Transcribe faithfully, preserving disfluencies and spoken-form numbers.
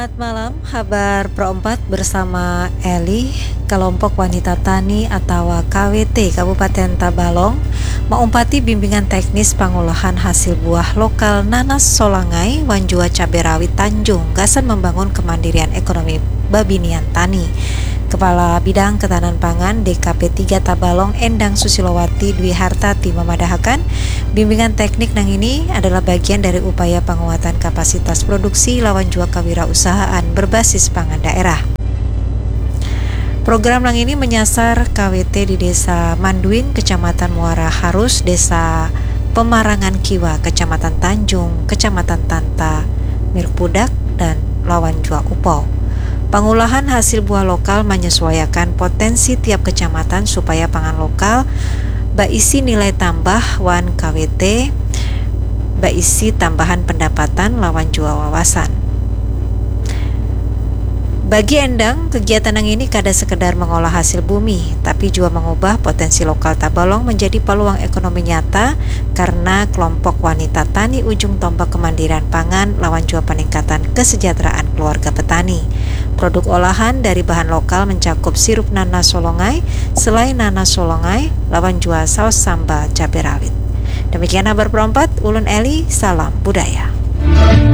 Selamat malam, habar Pro empat bersama Eli. Kelompok Wanita Tani atawa K W T Kabupaten Tabalong maumpati bimbingan teknis pangolahan hasil buah lokal nanas solangai wan jua cabe rawit Tanjung gasan membangun kemandirian ekonomi babinian tani. Kepala Bidang Ketahanan Pangan D K P tiga Tabalong Endang Susilowati Dwi Hartati memadahakan, bimbingan teknik nang ini adalah bagian dari upaya penguatan kapasitas produksi lawan jua kewirausahaan berbasis pangan daerah. Program nang ini menyasar K W T di Desa Manduin, Kecamatan Muara Harus, Desa Pemarangan Kiwa, Kecamatan Tanjung, Kecamatan Tanta, Mirpudak, dan lawan jua Upau. Pangulahan hasil buah lokal menyesuaiakan potensi tiap kecamatan supaya pangan lokal baisi nilai tambah wan K W T baisi tambahan pendapatan lawan jua wawasan. Bagi Endang, kegiatan nang ini kada sekedar mengolah hasil bumi, tapi jua mengubah potensi lokal Tabalong menjadi peluang ekonomi nyata karena kelompok wanita tani ujung tombak kemandirian pangan lawan jua peningkatan kesejahteraan keluarga petani. Produk olahan dari bahan lokal mencakup sirup nanas solongai, selai nanas solongai, lawan jua saus sambal cabai rawit. Demikian habar Pro empat, ulun Eli, salam budaya.